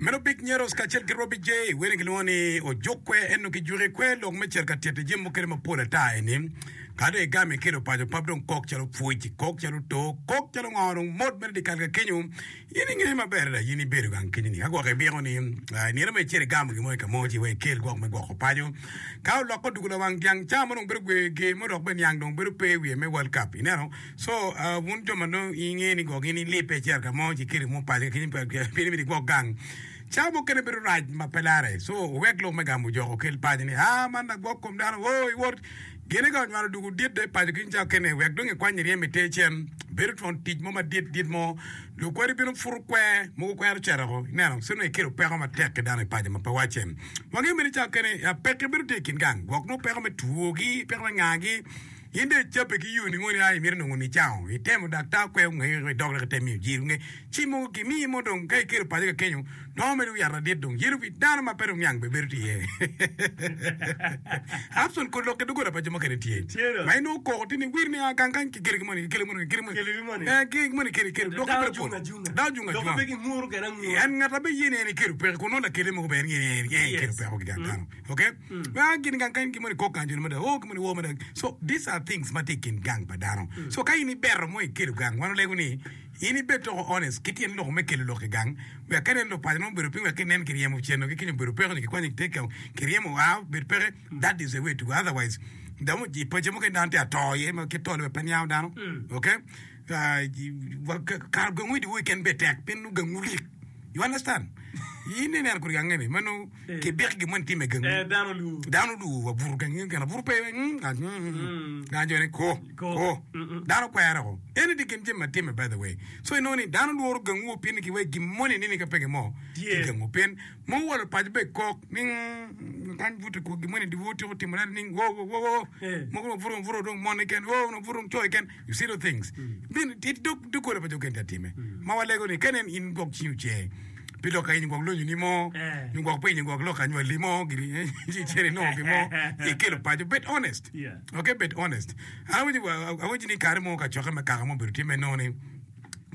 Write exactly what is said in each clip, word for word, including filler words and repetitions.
Meno Big Nyeros kacel ki Robbie J wene gilwongo ni ojuk kwe ento kijuki kwe lok me cito ka tito jami mukene mapol ata eni. Ka dong igamo ikelo paco pap dong kok calo pwoc, kok calo too, kok calo ngo dong mot mere dyekal ka kenyo. In ingeyo maber adada in ibedo gang kenyo ni ka gwok ibiko ni i nino mo icito igamo gin mo i ka mo ci wek ikel gwok me gwoko paco. Ka olokke odwogo lawang dyang ca mo dong bedo gwe ger mo dok bene niang dong bedo pe i wiye me World Cup ineno. So wun jo ma nongo ingeyo ni gwok in ilibbe icito ka mo ci ikelo gin mo paco ka kenyo pien imito igwok gang. Cawa mukene bedo rac ma pe larre. So wuwek lok me gamo jok okel paco ni aa man lagwok kom dano oo iwot gine ka onywalo dwogo dit dong i paco kiny cawa kene wek dong ikwany iryem iter cen bedo twon tic mo madit dit mo lukwadi bino puto kwer mogo kwero cito oko ineno ci nongo ikelo peko matek ki dano i paco ma pe wacce. Wangeyo bene cawa kene pekki bedo tye i kin gang gwok nongo peko me twogi peko me ngagi. In dong icabbe ki yo ningo ni a imito nongo nicango? Itemo daktar kweyo ngeye idok dok item miyo jiri nge ci mogo gimiyi mo dong ka ikelo paco ka kenyo nongo mere wi yat ladit dong yelo wi dano ma pe dong niang bene bedo tye iye. Abson kod lok ki dogola pa jo mukene tye ma inongo koko tye ni wir ni a gang kany kikelo ki moni kikelo moni kikelo moni Kikelo ki moni. Eh, ki moni kikelo kikelo Dano lokke bedo jung pol ajunga. dano jung Dok ajunga pe ginguru kede angura. En ngat ma be ye ni en ekelo peko kun nongo lakele mogo bene en ngeyo ni en ekelo Yes. peko ki gang Mm. dano. Okay? Ah, gin gang kany gimoni kok gang joni mada, oh gimoni wo mada. So these are things ma tye i kin gang pa dano. So ka in ibeto mo ikelo gang, wan olego ni in ibed toko honest ki tyen loko me kelo lok i gang, wek ka inen lupaco nongo obedo piny wek kinen kiryemo ceno ki kenyo obedo peko nyo kikwanyo kiteke kiryemo oa obed peke, that is the way to go. Otherwise, dong i paco mukene dano tye ato iye ma kit tole bene pe niango dano. Okay? Ah, kara gangu i dyewor keken bene tek pien nongo gangu lik. You understand? In ineno kodi gange ni ma nongo kibiko gin moni time gangu. Eh, dano olwor. Dano olwor wa buto gangi keken abuto pe mm, ah, mm, mm. Dano jo ni ko Ko. ko. Mm-mm. Dano kwere ko. Eni tye kin jami ma time by the way. So inongo ni dano lworo gangu pien ni kiweko gin moni nini ka peke mo Tye. ki gangu pien mo walo paco be kok ni mm, kany buto ko gin moni dyewor tyeko timo nade ni wo wo wo wo. Eh. Mogo dong buto buto dong mon keken wo dong buto dong co keken. You see those things. Bin it dog dogola pa jo keken tye atime. Ma walego ni ka nen in gwok cingi ocer pi lok ka in gwok lonyoni mo Eh. nyo gwok pinyi gwok lok anywali mo gini ci icito inongo gin mo ikelo paco. Bed honest. Yeah. Okay, bed honest. An awinyo awinyo ni kare mo kacokke me kaka mo obedo tye me nongo ni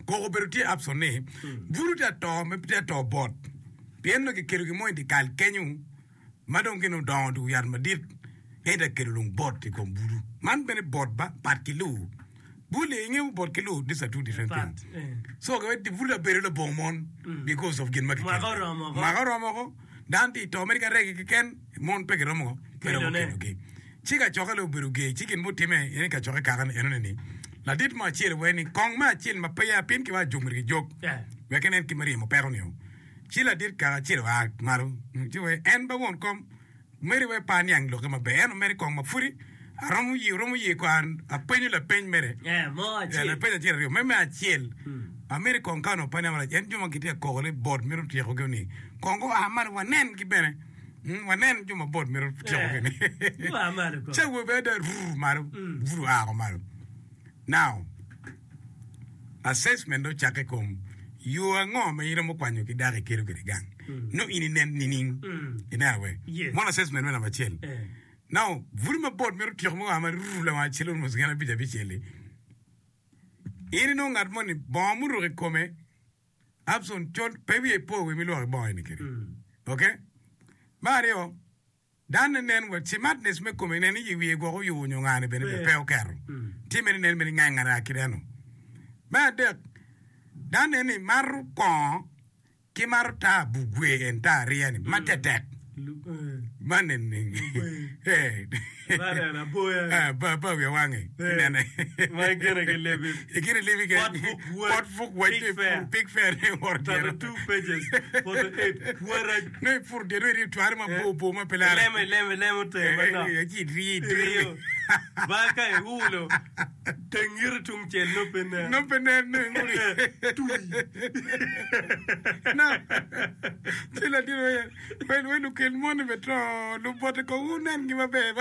koko obedo tye absent ni buru tye ato me tye ato bot pien nongo kikelo gin mo i dye kal kenyo ma dong gin odongo dwogo yat madit ento akelo lung bot i kom bulu. Man bene bot ba pat ki luu. Bulu ingeyo bot ki luu these are two different Pat, things. eh. So bulu abedo labongo mon because of gin ma kikelo. Mwaka oromo oko. Mwaka oromo oko. Dano tye i to mere ka regi keken mon pe giromo pe romo Kelone. kelogi. Ci kacokke dong obedo ger ci gin mutimme en kacokke kaka ni enoni ni ladit mo acel wee ni kong me acel ma peya pien ki wa jok myero gijog Yeah. wek inen kit me ryemo peko nio. Ci ladit kaka acel oa malo ci wee en ba won kom Meri wek pe aniang lokke maber, ento mere kong ma pudi aromo ye, oromo ye ko an apenyo lapeny mere. Eh, mo Eh, acel. lapeny acel aryo. Me me acel, ameri kong ka onongo pe aniang marac, en jo ma gitye ka koko ni bot mito tyekogi ni, kong gua malo wanen gi bene. Mm, wanen jo ma bot mito tyekogi ni. Eh, gua malo kong. Ca awobe ada rur malo, bur oa ko malo. Now, Assessment dong ocakke i kom yo ango ma in iromo kwanyo ki dako ikelo kwede gang. Nongo in inen nining? Ineno we? Yes. Mono assessment me namba acel. Eh. Now, bur ma bot mito tyeko mo ma ruru lawang acel almost gin abic abicel-li. In inongo ngat moni bongo muruko i kome Abson col pe wiye po wi milwoko i bongo eni kede. Okay? Me aryo, Dano nen wa cimatness me kome nen ni wiye gwok oyubo nyo ngane bene pe oketo. Tye mere nen bene ngang ara kit eno. Me adek, dano nen ni mato kongo ki mato taa bugwe en taa ariya ni ma tetek. Man nen ni eh ba ba wiya wange inene. Ma ikine ki lebi. Ikine lebi ke Pot buk wach. pot buk wach Pig fair. pig fair ne woro dyere. Thirty two pages, forty eight. Warac. Nongo ipuro dyere nongo iriyo cware mabor bor ma pe lare. Ilemo ilemo ilemo tenge manok. Eh, ci iriyo idiro. Iriyo. Ba ka iulo, teng iti tung cel nongo pe nen. Nongo pe nen nongo inguli. Twi. No. Ci latin oye, wel wel lukel moni be to lubote kong wunengi maber.